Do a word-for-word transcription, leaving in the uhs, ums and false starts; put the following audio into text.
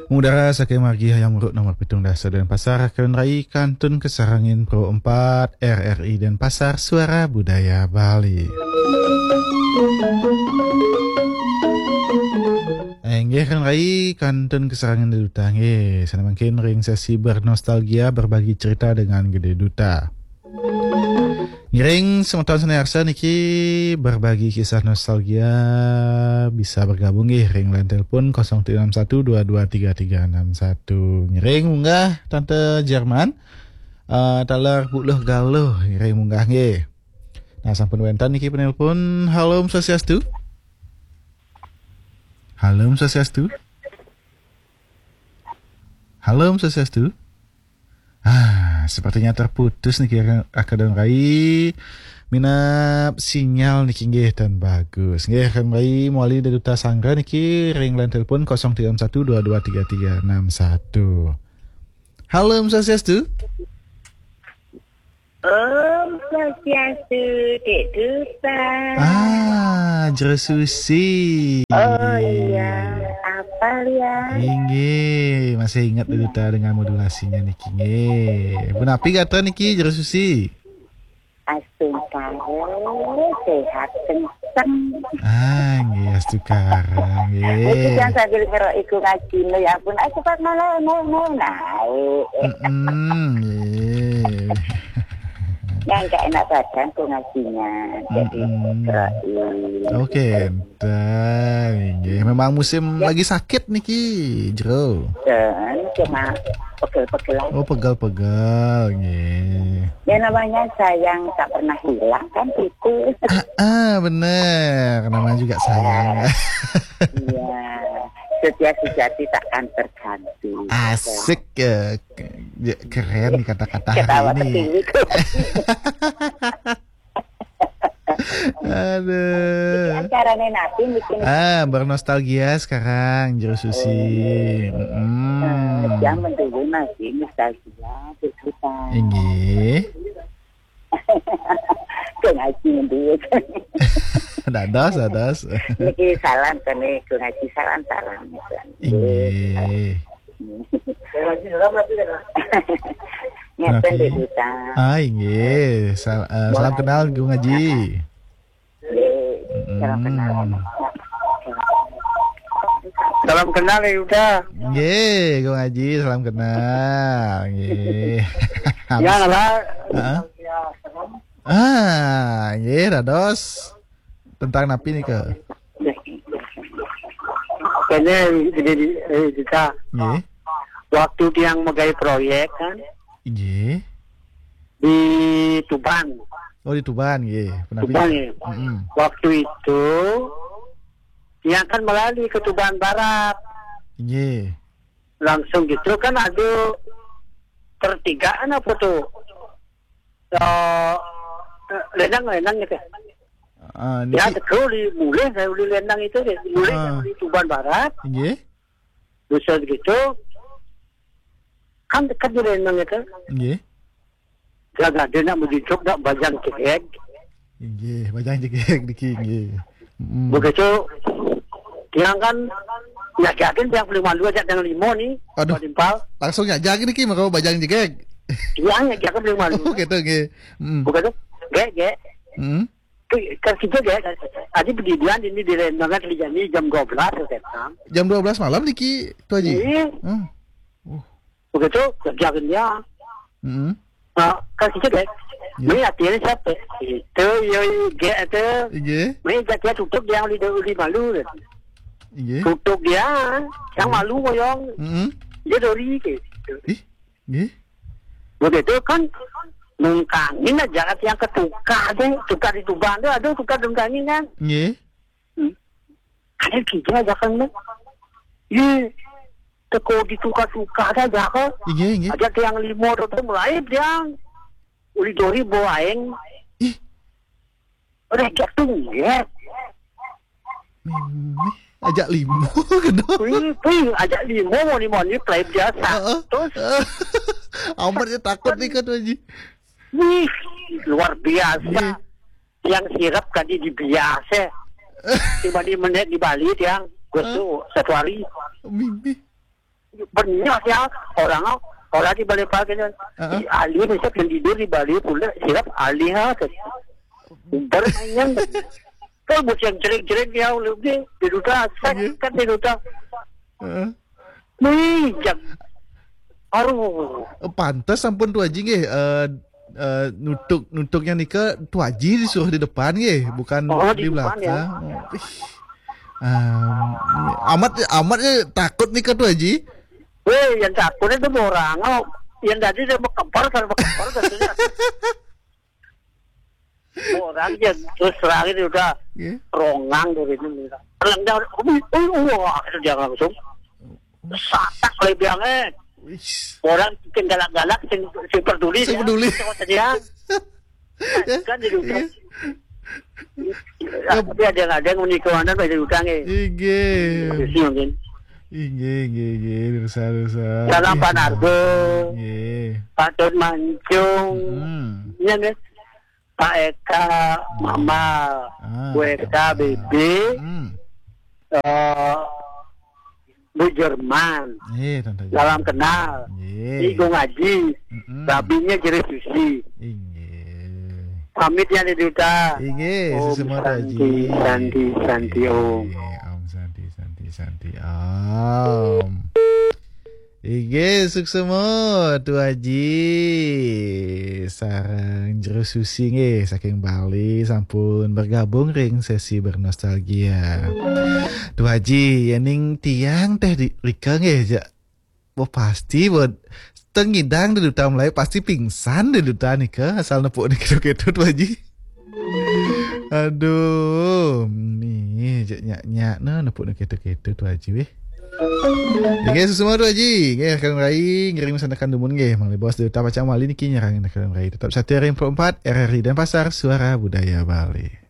Mudara saking margi Hayam Wuruk nomor pitung dasa Denpasar, kawin rai kantun kasarengin Pro empat R R I Denpasar, Suara Budaya Bali. Inggih, kawin rai kantun kasarengin Dé Duta, nggih. Sané mangkin ring sesi bernostalgia, berbagi cerita dengan Gedé Duta. Ngiring semeton sané arsa niki berbagi kisah nostalgia, bisa bergabung nggih ring line telepon kosong tiga enam satu dua dua tiga tiga enam satu. Ngiring munggah Tante Jerman, eh, taler Buluh Galuh, ngiring munggah nggih. Nah, sampun wénten niki penelpon. Halo, Om Swastiastu. Halo, Om Swastiastu. Halo, Om Swastiastu. Ah, sepertinya terputus niki, Aka dan Rai. Minab sinyal niki nggih tan bagus. Nggih, Aka dan Rai, mawali Dé Duta Sanggra niki ring line telepon kosong tiga enam satu dua dua tiga tiga enam satu. Halo, Om Swastiastu. Om Swastiastu, Dé Duta. Ah, Jero Susi. Oh iya, apal ya? Inggih, masih ingat Dé Duta dengan modulasinya niki nggih. Punapi gatra niki, Jero Susi? Astungkara, sehat kenceng. Ah, nggih, astungkara nggih. Niki yang sambil ngeroki Gung Aji, ya ampun, ah, cepat malah naik, naik, naik. Mm-mm, nggih. Yang gak enak badan Gung Ajinya, jadi ngeroki. Oke, enten, nggih. Memang musim lagi sakit niki, Jero. Dan cuma pegel-pegel aja. Oh, pegel-pegel, nggih. Ya, namanya sayang tak pernah hilang kan gitu. Ah, ah, bener. Namanya juga sayang. Iya. Setia sejati takkan terganti. Asik ya. Ya, keren nih kata-kata hari ini. Ketawa ketiwi. Aduh. Acarane napi niki? Ah, bernostalgia sekarang, Jero Susi. Oh. Mm-mm. Nah, yang mendulu masih nostalgia, Dé Duta. Inggih. Gung Aji mendulu. Dados, dados. Niki salam kene Gung Aji, salam, salam. Inggih. Ngeten, Dé Duta. Ah, inggih. Sal-, eh, salam kenal, Gung Aji. Nggih, salam kenal. Mm-mm. Salam kenal ya, Yuda. Nggih, Gung Aji, salam kenal. Nggih. Ya, lah. Heeh. Ah, nggih, dados. Tentang napi nika? Kene, eh, Duta. Nggih. Waktu tiang megai proyek kan. Nggih. Di Tuban. Oh, di Tuban, nggih. Punapi? Tuban, ya. Mm-mm. Waktu itu, tiang kan melali ke Tuban Barat. Nggih. Langsung gitu kan ada pertigaan apa tuh? Eh, lenang, lenang gitu. Ah, ya, niki. Betul, di mulih saya uli lenang itu deh. Mulih, ah, dari Tuban Barat. Nggih. Terus gitu, kan dekat di lenang itu. Nggih. Gagah dia nak menjejok nak bajang cegeg. Inggih, bajang cegeg niki, inggih. Mm. Begitu, tiang kan, nyajakin tiang paling malu aja tiang lima ni, aduh. Pak Timpal. Langsung nyajak niki, maka bajang cegeg. Tiang nyajakin paling malu. Oh, gitu, nggih. Mm. Begitu, gek, gek. Mm. Tu, kan kita gek, tadi pergi dia ini di lain banget, di jam dua belas, saya kata. Jam dua belas malam niki, Tu Haji? Iya. Hmm. Uh. Begitu, kerja kerja. Hmm. Ah, kan kita gek. Ya. Ni hati ni siapa? Itu, yo, gek tu. Iya. Ni gek dia tutup, dia uli, uli malu. Iya. Tutup dia, yang malu moyong. Hmm. Dia dori ke. Ih, iya. Begitu kan, nungkangin aja kat yang ketukar deh, tukar di Tuban tu, aduh, tukar nungkangin kan. Iya. Hmm. Ada tiga aja kan, deh. Iya. Teko ditukar-tukar aja kan. Iya, iya. Aja ke yang lima tu, tu mulai dia. Uli dori bawa aing. Ih. Udah jatuh, ya. Mimih, ajak limo, gitu. Wih, wih, ajak limo, moni-moni, play biasa. Heeh. Terus? Amat dia takut ni kan, Haji. Wih, luar biasa. Iya. Yang sirap tadi di biasa. Tiba di menit di Bali, tiang. Gue tuh satu hari. Mimih. Bener ya, orang orang di Bali pagi kan. Heeh. Di alih, bisa kan tidur di Bali pula, silap alih ha. Bermain. Kalau buat yang jerit-jerit ya, lebih di duta, saya Iya. kan di duta. Heeh. Nih, jak. Aduh. Oh, pantas ampun Tu Haji nggih, eh, eh, nutuk nutuknya nika Tu Haji disuruh di depan nggih, bukan Oh, di di depan, ya. belakang. Oh, ih. Em, amat amat ya takut nika Tu Haji. Weh, yang takutnya itu orang. Oh, yang tadi dia berkempar, kan berkempar katanya. Orang dia terus terang itu udah Nggih. rongang dari itu. Orang dia, ui, ui, wah, itu dia langsung. Satak lebihannya. Wis. Orang bikin galak-galak, sing, sing peduli Sing dia. peduli. Sing dia. Kan di duta. Iya. Tapi ada yang ada yang menikah, ada yang utang, eh. Inggih. Habisnya mungkin. Inggih, inggih, inggih. Pirsa, pirsa. Salam Ih, Pak Nardo. Inggih. Pak Don Mancung. Hmm. Iya, nggih. Pak Eka, Mama, Ah, Bu Eka, ah. Bebe, Hmm. eh, Bu Jerman. Eh, Tante Salam Jerman. kenal. Nggih. Igung Aji. Mm-mm. Babinya Jere Susi. Inggih. Pamit ya, di duta. Inggih, Om suksma, Santi, Haji. Santi, Santi, Om. Inggih, Om Santi, Santi, Santi, Om. Inggih, suksma, Tu Haji. Sareng Jero Susi nggih, saking Bali, sampun bergabung ring sesi bernostalgia. Tu Haji, yening tiang teh di, rika nggih, ja. Wah, pasti, buat tengidang di duta mulai, pasti pingsan di duta nika, asal nepuk nika ketu, Tu Haji. Aduh, nih, jak nyak-nyak, nah, nepuk nika ketu, Tu Haji, weh. Oke, suksma, Tu Haji. Nggih, Kang Rai, ngiring sanakan dumun, nggih. Mangli bos di duta pacang mali niki nyerang Kang Rai. Tetap setia ring empat R R I Denpasar, Suara Budaya Bali.